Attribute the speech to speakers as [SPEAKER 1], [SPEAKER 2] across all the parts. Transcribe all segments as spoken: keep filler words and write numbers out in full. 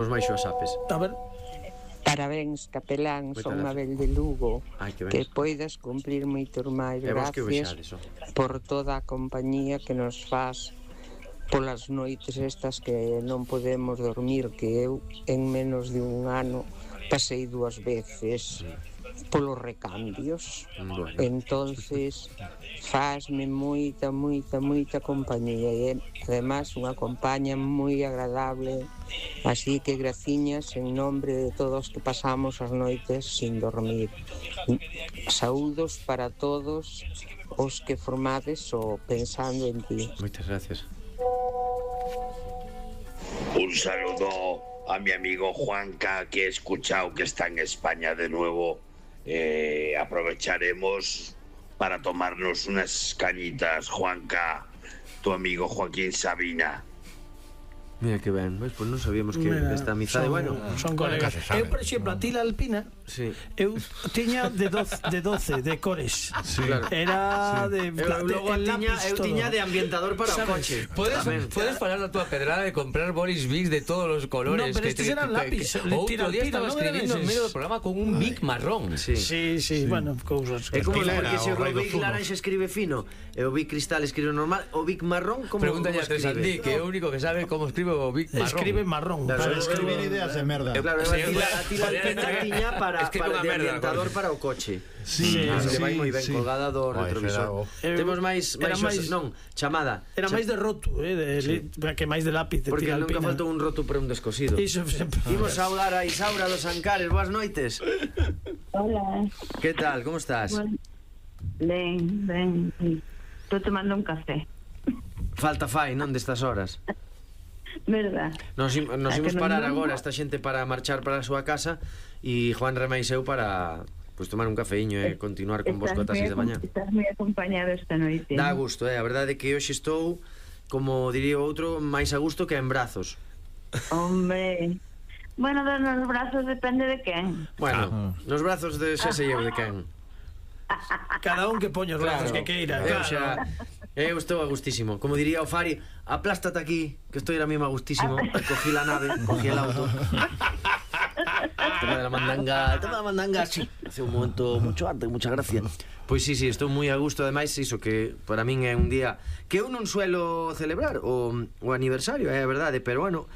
[SPEAKER 1] Os máis xoasapes.
[SPEAKER 2] A ver.
[SPEAKER 3] Parabéns, capelán, son Mabel de Lugo.
[SPEAKER 1] Ai, que,
[SPEAKER 3] que poidas cumplir moitos máis. Gracias por toda a compañía que nos faz polas noites estas que non podemos dormir, que eu en menos de un ano pasei dúas veces polos recambios. Bueno. Entonces fazme moita, moita, moita compañía e además unha compañía moi agradable, así que graciñas en nombre de todos que pasamos as noites sin dormir. Saúdos para todos os que formades o Pensando en Ti.
[SPEAKER 1] Moitas gracias.
[SPEAKER 4] Un saludo a mi amigo Juanca, que he escuchado que está en España de nuevo. Eh, aprovecharemos para tomarnos unas cañitas, Juanca, tu amigo Joaquín Sabina.
[SPEAKER 1] Mira que ben, pois pues non sabíamos que Mira, esta amizade, son, bueno,
[SPEAKER 2] son colegas. Eu, por exemplo, a Tila Alpina, sí. eu tiña de doce de cores. Sí. Claro. Era sí. de
[SPEAKER 1] eu, logo
[SPEAKER 2] de
[SPEAKER 1] tiña, eu tiña de ambientador para ¿sabes? O coche.
[SPEAKER 5] Podes podes falar da túa pedrada de comprar Boris Bics de todos os colores.
[SPEAKER 2] No, pero estes
[SPEAKER 5] que,
[SPEAKER 2] eran lápiz.
[SPEAKER 5] O outro día estaba escribindo en medio do programa con un Bic marrón.
[SPEAKER 2] Sí, sí, sí, sí. Bueno, cousas.
[SPEAKER 1] É como porque se o Bic laranxa escribe fino e o Bic cristal escribe normal, o Bic marrón como
[SPEAKER 5] pregúntale a Tresandí, que é o único que sabe como escribe o Bic marrón.
[SPEAKER 2] Escribe marrón.
[SPEAKER 6] Claro, escribir ideas de merda.
[SPEAKER 1] Eu claro, a Tila Alpina tiña para para de ambientador para o coche.
[SPEAKER 6] Sí,
[SPEAKER 1] que vai moi ben colgada do retrovisor. Temos máis máis non, chamada.
[SPEAKER 2] Era máis de roto, eh, que máis de lápiz de
[SPEAKER 1] Tila
[SPEAKER 2] Alpina.
[SPEAKER 1] Porque nunca faltou un roto para un descosido.
[SPEAKER 2] Iso sempre.
[SPEAKER 1] Imos saudar a Isaura dos Ancares. Boas noites.
[SPEAKER 7] Hola.
[SPEAKER 1] Que tal? Como estás?
[SPEAKER 7] Ben, ben. Estou tomando un café.
[SPEAKER 1] Falta fai, non, destas horas?
[SPEAKER 7] Verdad.
[SPEAKER 1] Nos, nos imos parar agora esta xente para marchar para a súa casa e Juan Remais eu para pues, tomar un cafeíño e eh, continuar con vos cotas seis da mañá.
[SPEAKER 7] Estás moi acompañado esta noite.
[SPEAKER 1] Dá gusto, eh? A verdade é que hoxe estou, como diría outro, máis a gusto que en brazos.
[SPEAKER 7] Hombre, bueno, nos brazos depende de quen.
[SPEAKER 1] Bueno, ah. nos brazos de xa sei eu de quen.
[SPEAKER 2] Cada un que poña os brazos claro, que queira.
[SPEAKER 1] Eu
[SPEAKER 2] claro.
[SPEAKER 1] xa eu estou a gustísimo. Como diría o Fari, aplástate aquí, que estou ahora mismo a gustísimo. Cogí la nave, cogí el auto. Toma de la mandanga, toma de la mandanga, sí. Hace un momento mucho arte, mucha gracia. Pois sí, sí, estou moi a gusto. Ademais, iso que para min é un día que eu non suelo celebrar o, o aniversario, é a verdade, pero bueno,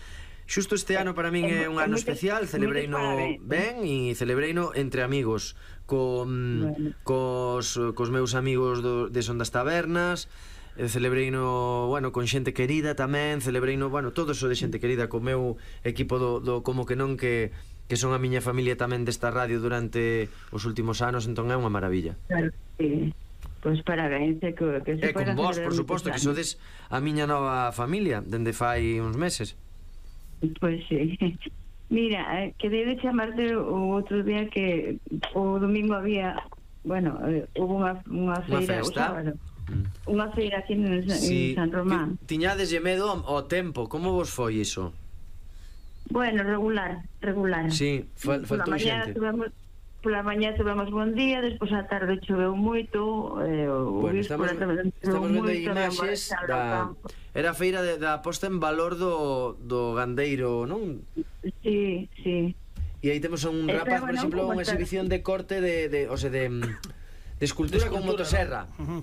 [SPEAKER 1] xusto este ano para min é un ano especial. Celebreino ben e celebreino entre amigos, con bueno. cos, cos meus amigos do, de Son das Tabernas. Celebreino, bueno, con xente querida tamén. Celebreino, bueno, todo eso de xente querida, co meu equipo do, do Como que non, que, que son a miña familia tamén desta radio durante os últimos anos. Entón é unha maravilla.
[SPEAKER 7] Claro, sí. Pois parabéns, que, que se
[SPEAKER 1] e con vos, por suposto, que sodes a miña nova familia dende fai uns meses.
[SPEAKER 7] Pois sí. Mira, que debe chamarte o outro día que o domingo había, bueno, eh, hubo unha, unha feira o sábado. Mm. Unha feira aquí en, sí, en San Román.
[SPEAKER 1] Tiñades medo ao tempo, como vos foi iso?
[SPEAKER 7] Bueno, regular, regular.
[SPEAKER 1] Sí, fal, faltou xente.
[SPEAKER 7] Tuvemos, pola mañá tuvemos bon día, despois a tarde choveu moito, eh, o
[SPEAKER 1] bueno, estamos, estamos vendo imaxes da... Era a feira de, da posta en valor do, do gandeiro, non?
[SPEAKER 7] Sí, sí.
[SPEAKER 1] E aí temos un rapaz, por exemplo, unha exhibición de corte de, de, o sea, de, de escultura con motosserra.
[SPEAKER 2] Uh -huh.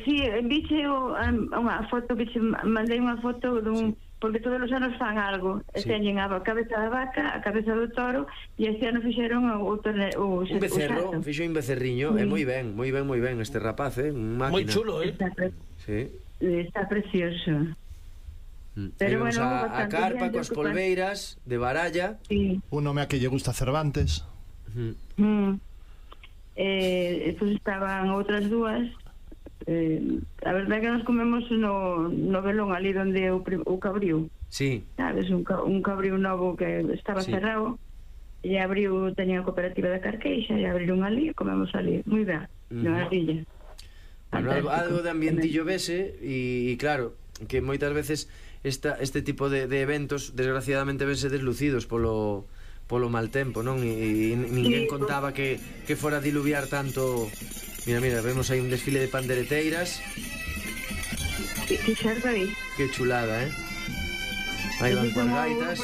[SPEAKER 7] Sí, vixe unha foto, vixe, mandei unha foto dun, sí. Porque todos os anos fan algo, sí. Teñen a cabeza da vaca, a cabeza do toro, e este ano fixeron o, o, o,
[SPEAKER 1] un becerro, o fixo un becerriño, sí. E moi ben, moi ben, moi ben este rapaz, eh, un máquina.
[SPEAKER 2] Moi chulo, eh.
[SPEAKER 7] Está, pre
[SPEAKER 1] sí.
[SPEAKER 7] Está precioso.
[SPEAKER 1] Mm. Pero bueno, a, a carpa coas polveiras de baralla.
[SPEAKER 7] Sí.
[SPEAKER 6] Un home a que lle gusta Cervantes.
[SPEAKER 1] Mm.
[SPEAKER 7] Mm. Eh, pues estaban outras dúas. Eh, a verdade que nos comemos no, no velón ali donde o, o cabriu.
[SPEAKER 1] Sí.
[SPEAKER 7] Sabes, un, un cabriu novo que estaba sí. cerrado. E abriu, teña a cooperativa da Carqueixa, e abriron ali e comemos ali. Moi ben, uh -huh. na ardilla.
[SPEAKER 1] Bueno, algo, algo de ambientillo vese e, e claro, que moitas veces esta, este tipo de, de eventos desgraciadamente vense deslucidos polo, polo mal tempo, non? E, e ninguén contaba que, que fora a diluviar tanto. Mira, mira, vemos aí un desfile de pandereteiras.
[SPEAKER 7] Que xerda aí.
[SPEAKER 1] Que chulada, eh? Aí van coas gaitas.